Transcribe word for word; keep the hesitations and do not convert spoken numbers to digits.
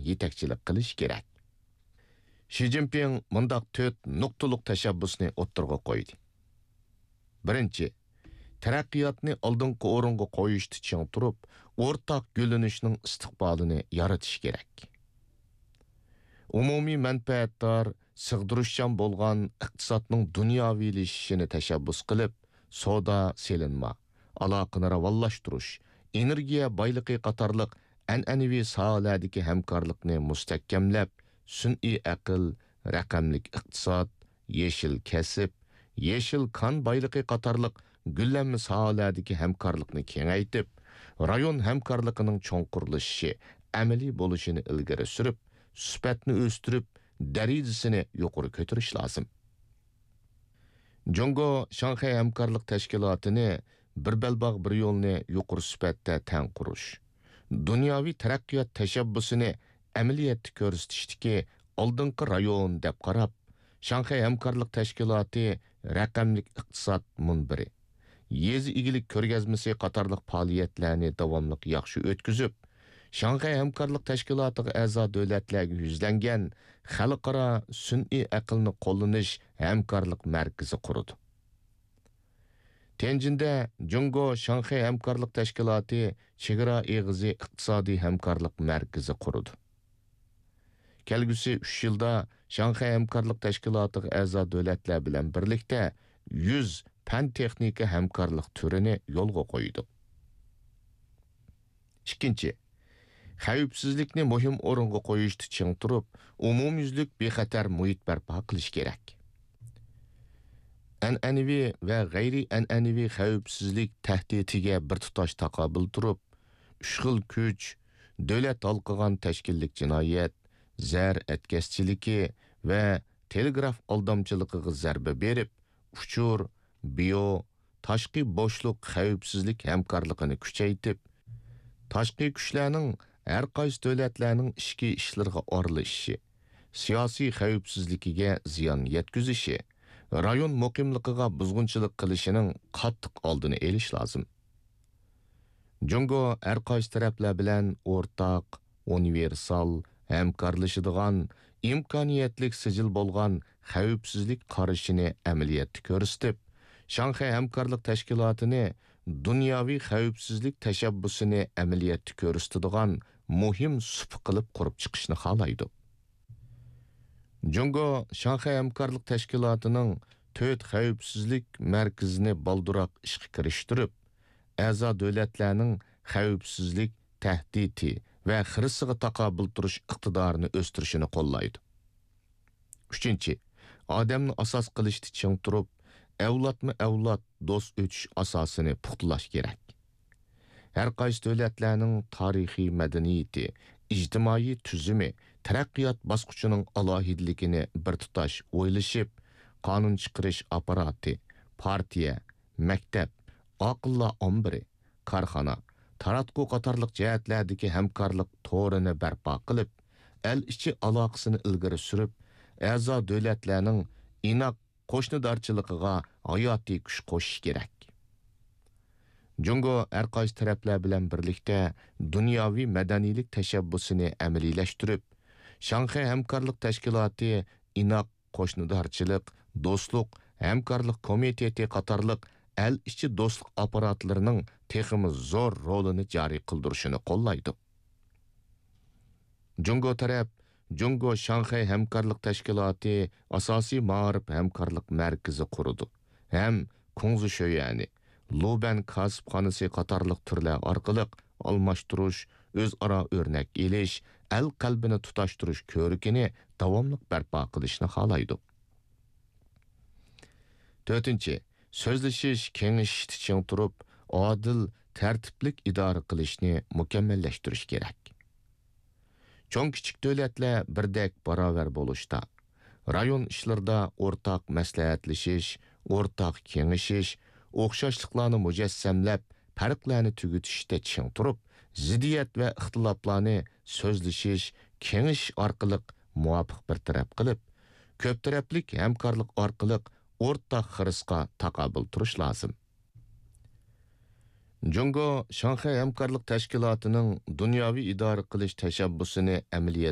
يېتەكچىلىك قىلىشى كېرەك. شى جىنپىڭ مۇنداق تۆت نۇقتىلىق تەشەببۇسنى ئوتتۇرىغا قويدى. بىرىنچى، تەرەققىياتنى ئالدىنقى ئورۇنغا قويۇشتا چىڭ تۇرۇپ، ئورتاق گۈللىنىشنىڭ ئىستىقبالىنى يارىتىش كېرەك. ئومۇمىي مەنپەئەتدار، سىغدۇرۇشچان بولغان ئىقتىسادنىڭ دۇنياۋىلىشىشىنى تەشەببۇس قىلىپ، سودا، سېلىنما، ئالاقىنى راۋانلاشتۇرۇش، ئېنېرگىيە بايلىقى قاتارلىق ئەنئەنىۋى ساھەلەردىكى ھەمكارلىقنى مۇستەھكەملەپ، سۈنئىي ئەقىل، رەقەملىك ئىقتىساد، يېشىل كەسىپ، يېشىل كان بايلىقى قاتارلىق گۈللەنمە ساھەلەردىكى ھەمكارلىقنى كېڭەيتىپ، رايون ھەمكارلىقىنىڭ چوڭقۇرلىشىشى، ئەمەلىي بولۇشىنى ئىلگىرى سۈرۈپ، سۈپەتنى ئۆستۈرۈپ، دەرىجىسىنى يۇقىرى كۆتۈرۈش لازىم. جۇڭگو شاڭخەي ھەمكارلىق تەشكىلاتىنى بىر بەلباغ، بىر يولنى يۇقىرى سۈپەتتە تەڭ قۇرۇش، دۇنياۋى تەرەققىيات تەشەببۇسىنى ئەمەلىيەتتە كۆرسىتىشتىكى ئالدىنقى رايون دەپ قاراپ، شاڭخەي ھەمكارلىق تەشكىلاتى رەقەملىك ئىقتىساد مۇنبىرى، يېزا ئىگىلىك كۆرگەزمىسى قاتارلىق پائالىيەتلەرنى داۋاملىق ياخشى ئۆتكۈزۈپ، شاڭخەي ھەمكارلىق تەشكىلاتىغا ئەزا دۆلەتلەرگە يۈزلەنگەن خەلقئارا سۈنئىي ئەقىلنى قوللىنىش ھەمكارلىق مەركىزى قۇرىدۇ. تيەنجىندە جۇڭگو شاڭخەي ھەمكارلىق تەشكىلاتى چېگرا ئېغىزى ئىقتىسادىي ھەمكارلىق مەركىزى قۇرىدۇ. كەلگۈسى ئۈچ يىلدا شاڭخەي ھەمكارلىق تەشكىلاتىغا ئەزا دۆلەتلەر بىلەن بىرلىكتە يۈز پەن-تېخنىكا ھەمكارلىق تۈرىنى يولغا قويىدۇ. ئىككىنچى، خەۋپسىزلىكنى مۇھىم ئورۇنغا قويۇشتا چىڭ تۇرۇپ، ئومۇميۈزلۈك بىخەتەر مۇھىت بەرپا قىلىش كېرەك. ئەنئەنىۋى ۋە غەيرىي ئەنئەنىۋى خەۋپسىزلىك تەھدىتىگە بىر تۇتاش تاقابىل تۇرۇپ، ئۈچ خىل كۈچ، دۆلەت ھالقىغان تەشكىللىك جىنايەت، زەر ئەتكەسچىلىكى ۋە تېلېگراف ئالدامچىلىقىغا زەربە بېرىپ، ئۇچۇر، بىيو، تاشقى بوشلۇق خەۋپسىزلىك ھەمكارلىقىنى كۈچەيتىپ، تاشقى كۈچلەرنىڭ ھەر قايسى دۆلەتلەرنىڭ ئىچكى ئىشلىرىغا ئارىلىشىشى، سىياسىي خەۋپسىزلىكىگە زىيان يەتكۈزۈشى، رايون مۇقىملىقىغا بۇزغۇنچىلىق قىلىشىنىڭ قاتتىق ئالدىنى ئېلىش لازىم. جۇڭگو ھەر قايسى تەرەپلەر بىلەن ئورتاق، ئۇنىۋېرسال، ھەمكارلىشىدىغان، ئىمكانىيەتلىك سىجىل بولغان خەۋپسىزلىك قارىشىنى ئەمەلىيەتتە كۆرسىتىپ، شاڭخەي ھەمكارلىق تەشكىلاتىنى دۇنياۋى خەۋپسىزلىك تەشەببۇسىنى ئەمەلىيەتتە كۆرسىتىدىغان مۇھىم سۇپا قىلىپ قۇرۇپ چىقىشنى خالايدۇ. جۇڭگو شاڭخەي ھەمكارلىق تەشكىلاتىنىڭ تۆت خەۋپسىزلىك مەركىزىنى بالدۇرراق ئىشقا كىرىشتۈرۈپ، ئەزا دۆلەتلەرنىڭ خەۋپسىزلىك تەھدىتى ۋە خىرىسىغا تاقابىل تۇرۇش ئىقتىدارىنى ئۆستۈرۈشىنى قوللايدۇ. ئۈچىنچى، ئادەمنى ئاساس قىلىشتا چىڭ تۇرۇپ، ئەۋلادمۇ ئەۋلاد دوست ئۆتۈش ئاساسىنى پۇختىلاش كېرەك. ھەر قايسى دۆلەتلەرنىڭ تارىخىي مەدەنىيىتى، ئىجتىمائىي تۈزۈمى، تەرەققىيات باسقۇچىنىڭ ئالاھىدىلىكىنى بىر تۇتاش ئويلىشىپ، قانۇن چىقىرىش ئاپپاراتى، پارتىيە، مەكتەپ، ئاقىللار ئامبىرى، كارخانا، تاراتقۇ قاتارلىق جەھەتلەردىكى ھەمكارلىق تورىنى بەرپا قىلىپ، ئەل ئىچى ئالاقىسىنى ئىلگىرى سۈرۈپ، ئەزا دۆلەتلەرنىڭ ئىناق قوشنىدارچىلىقىغا ھاياتىي كۈچ قوشۇش كېرەك. جۇڭگو ھەر قايسى تەرەپلەر بىلەن بىرلىكتە دۇنياۋى مەدەنىيلىك تەشەببۇسىنى ئەمەلىيلەشتۈرۈپ، شاڭخەي ھەمكارلىق تەشكىلاتى ئىناق قوشنىدارچىلىق، دوستلۇق، ھەمكارلىق كومىتېتى قاتارلىق ئەل ئىچى دوستلۇق ئاپپاراتلىرىنىڭ تېخىمۇ زور رولىنى جارى قىلدۇرۇشىنى قوللايدۇ. جۇڭگو تەرەپ جۇڭگو شاڭخەي ھەمكارلىق تەشكىلاتى ئاساسىي مائارىپ ھەمكارلىق مەركىزى قۇرىدۇ ھەم كۇڭزى شۆيەنى، لۇبەن كاسىپخانىسى قاتارلىق تۈرلەر ئارقىلىق ئالماشتۇرۇش، ئۆزئارا ئۆرنەك ئېلىش، ئەل قەلبىنى تۇتاشتۇرۇش كۆرىكىنى داۋاملىق بەرپا قىلىشنى خالايدۇ. تۆتىنچى، سۆزلىشىش، كېڭىشىشتە چىڭ تۇرۇپ، ئادىل، تەرتىپلىك ئىدارە قىلىشنى مۇكەممەللەشتۈرۈش كېرەك. چوڭ-كىچىك دۆلەتلەر بىردەك باراۋەر بولۇشتا، رايون ئىشلىرىدا ئورتاق مەسلىھەتلىشىش، ئورتاق كېڭىشىش، ئوخشاشلىقلارنى مۇجەسسەملەپ، پەرقلەرنى تۈگىتىشتە چىڭ تۇرۇپ، زىددىيەت ۋە ئىختىلاپلارنى سۆزلىشىش، كېڭىشىش ئارقىلىق مۇۋاپىق بىر تەرەپ قىلىپ، كۆپ تەرەپلىك ھەمكارلىق ئارقىلىق ئورتاق خىرىسقا تاقابىل تۇرۇش لازىم. جۇڭگو شاڭخەي ھەمكارلىق تەشكىلاتىنىڭ دۇنياۋى ئىدارە قىلىش تەشەببۇسىنى ئەمەلىيەتكە